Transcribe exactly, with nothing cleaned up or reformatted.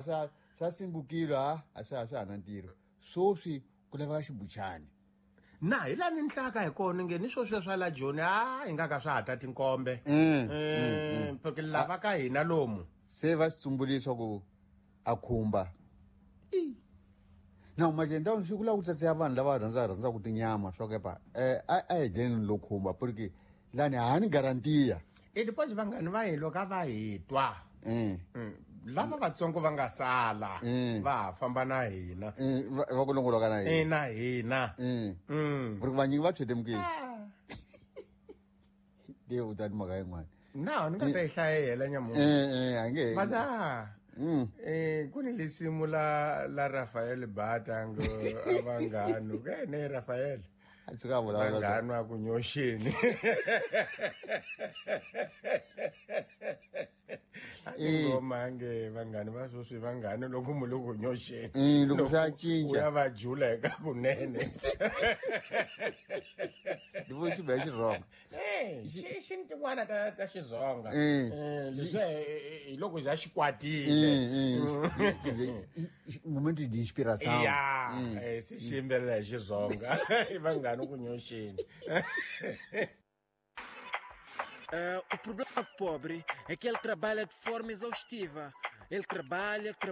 Swa swa singukile a a swa swa ha na ntirho. Sweswi ku laveka xibuchani. Na hi laha ni nhlaka hi kona nge ni swo sweswo swa la Joni a hi nga ka swa ha ta tinkombe. Mm, Eh, porque lava ka hina lomu. Se va swi tsumbulile swa ku a khumba. Na majenda swi ku lava ku tsatseya vanhu lava rhandzaka rhandzaka tinyama swa ku epa eh a a hi dleni lo khumba porque lani ha ni garantiya. E depois vanghani va hi loko a va hi twa. Mm. Mm, lava vatsongo va nga sala Mm. va ha famba na hina. Eh, va va ku longoloka na E hina. na hina. Mm. Mm. Porque vanyingi va tshwetemukile. Ke u ta ni mhaka yin'wana. Na ni nga ta yi hlayela nyamuntlha. Eh eh a nge. Mas ah, Mm. eh ku ni lisimu la la Rafael Batango avangano ke ne Rafael A tshuka a vulavula. vanghano a ku nyoxeni. Eh. Ngoma nge vanghani va sweswi vanghani loko mu le ku nyoxeni. Eh, loko swa cinca. U ya va jula eka kunene. Ni vo xi ba xirhonga. Eh, xi xi ni tin'wana ta ta Xizonga. Eh. Eh, leswiya hi hi loko za xi kwatile. Eh, eh. Quer dizer, momento de inspiração. Ya, eh, se xi yimbelela hi Xizonga. I vanghani ku nyoxeni. Ah, o problema do pobre é que ele trabalha de forma exaustiva. Ele trabalha, trabalha.